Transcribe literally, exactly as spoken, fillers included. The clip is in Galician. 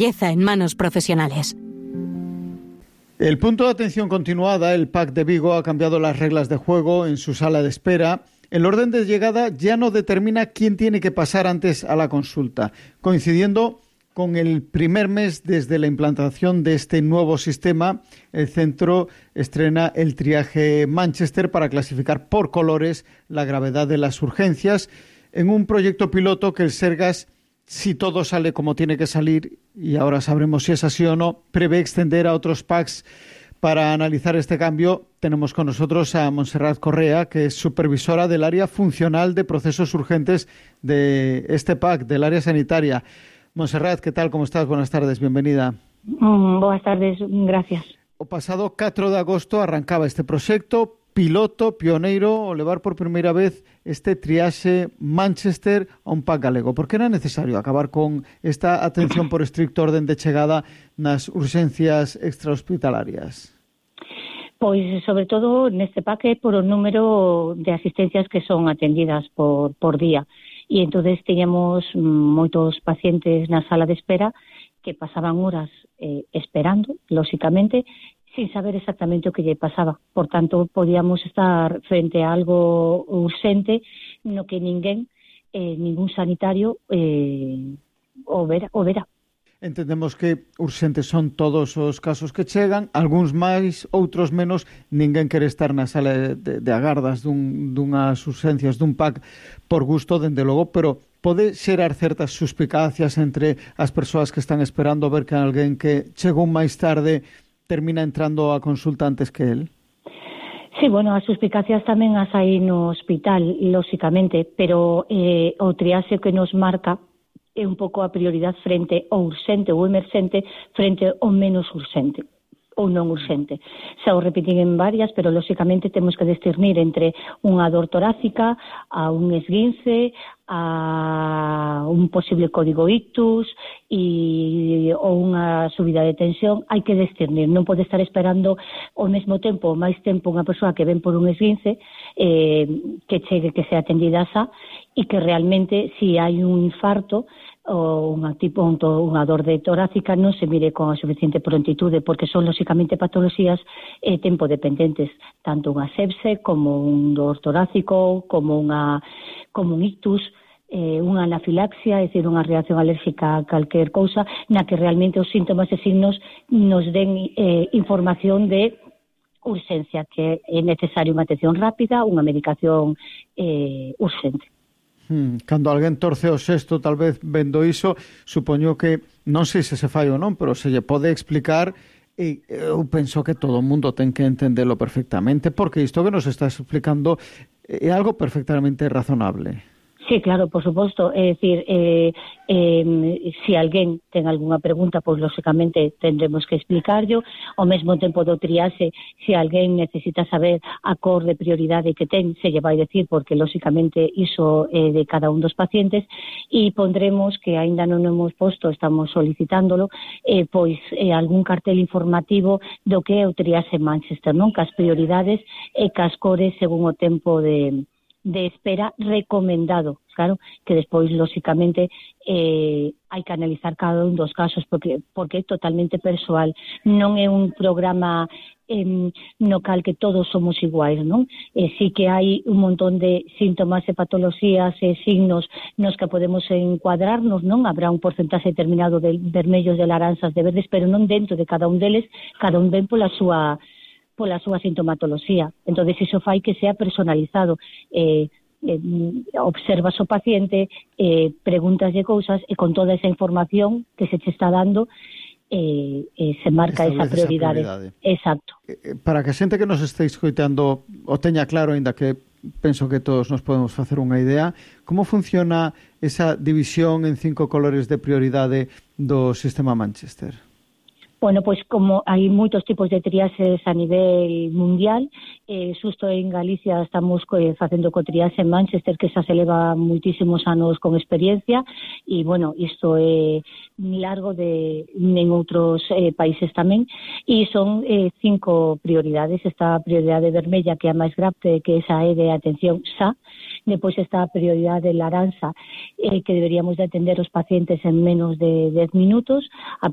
belleza en manos profesionales. El punto de atención continuada, el P A C de Vigo, ha cambiado las reglas de juego en su sala de espera. El orden de llegada ya no determina quién tiene que pasar antes a la consulta, coincidiendo con el primer mes desde la implantación de este nuevo sistema. El centro estrena el triaje Manchester para clasificar por colores la gravedad de las urgencias en un proyecto piloto que el Sergas, si todo sale como tiene que salir, y ahora sabremos si es así o no, prevé extender a otros P A Cs. Para analizar este cambio tenemos con nosotros a Montserrat Correa, que es supervisora del área funcional de procesos urgentes de este P A C, del área sanitaria. Montserrat, ¿qué tal? ¿Cómo estás? Buenas tardes, bienvenida. Mm, boas tardes, gracias. O pasado catro de agosto arrancaba este proxecto piloto, pioneiro, o levar por primeira vez este triaxe Manchester a un P A C galego. Por que era necesario acabar con esta atención por estricto orden de chegada nas urxencias extrahospitalarias? Pois, sobre todo, neste P A C por o número de asistencias que son atendidas por, por día. E entonces teníamos moitos pacientes na sala de espera que pasaban horas eh, esperando, lóxicamente, sin saber exactamente o que lle pasaba. Por tanto, podíamos estar frente a algo urxente no que ninguén, eh, ningún sanitario eh, o vera, o vera. Entendemos que urxentes son todos os casos que chegan, algúns máis, outros menos. Ninguén quere estar na sala de, de agardas dun, dunhas urxencias dun P A C por gusto, dende logo, pero pode xerar certas suspicacias entre as persoas que están esperando ver que alguén que chegou máis tarde termina entrando a consulta antes que él? Sí, bueno, as suspicacias tamén as hai no hospital, lóxicamente, pero eh, o triaxe que nos marca é un pouco a prioridade frente ao urxente ou emerxente frente ao menos urxente ou non urxente. Xa o repetín en varias, pero lóxicamente temos que discernir entre unha dor torácica, a un esguince, a un posible código ictus e, ou unha subida de tensión. Hai que discernir, non pode estar esperando ao mesmo tempo, máis tempo unha persoa que ven por un esguince eh, que chegue, que sea atendida xa, e que realmente, si hai un infarto ou unha tipo unha dor de torácica, non se mire con a suficiente prontitude, porque son lóxicamente patologías eh, tempo dependentes, tanto unha sepse como un dor torácico, como unha como un ictus, eh, unha anafilaxia, é dicir, unha reacción alérxica a calquer cousa, na que realmente os síntomas e signos nos den eh, información de urxencia, que é necesaria unha atención rápida, unha medicación eh, urxente. Hmm, cando alguén torce o sexto, tal vez vendo iso, supoño que, non sei se se fai ou non, pero se lle pode explicar, e eu penso que todo o mundo ten que entendelo perfectamente, porque isto que nos estás explicando é algo perfectamente razonable. Sí, claro, por suposto. É dicir, eh, eh, se alguén ten algunha pregunta, pois, lóxicamente, tendremos que explicarlo. Ao mesmo tempo do triaxe, se alguén necesita saber a cor de prioridade que ten, se lle vai decir, porque, lóxicamente, iso é de cada un dos pacientes, e pondremos, que aínda non hemos posto, estamos solicitándolo, eh, pois, eh, algún cartel informativo do que é o triaxe Manchester, non? Cas prioridades e cas cores según o tempo de... de espera recomendado, claro, que despois, lóxicamente, eh, hai que analizar cada un dos casos, porque porque é totalmente persoal, non é un programa eh, no cal que todos somos iguais, non? Eh, sí que hai un montón de síntomas e patologías e signos nos que podemos encuadrarnos, non? Habrá un porcentaxe determinado de vermellos, de laranxas, de verdes, pero non dentro de cada un deles, cada un ven pola súa pola súa sintomatoloxía. Entonces, iso fai que sea personalizado. Eh, eh, observas o paciente, eh, pregúntaslle cousas e con toda esa información que se te está dando eh, eh, se marca esa prioridade. esa prioridade. Exacto. Para que a xente que nos este escoitando o teña claro, ainda que penso que todos nos podemos facer unha idea, como funciona esa división en cinco colores de prioridade do sistema Manchester? Bueno, pois como hai moitos tipos de triaxes a nivel mundial, eh, xusto en Galicia estamos eh, facendo co triaxe en Manchester, que xa se leva moitísimos anos con experiencia, e, bueno, isto é largo de en outros eh, países tamén, e son eh, cinco prioridades. Esta prioridade vermella, que é a máis grave, que esa é de atención xa, Depois está a prioridade laranxa, eh, que deberíamos de atender os pacientes en menos de dez minutos. A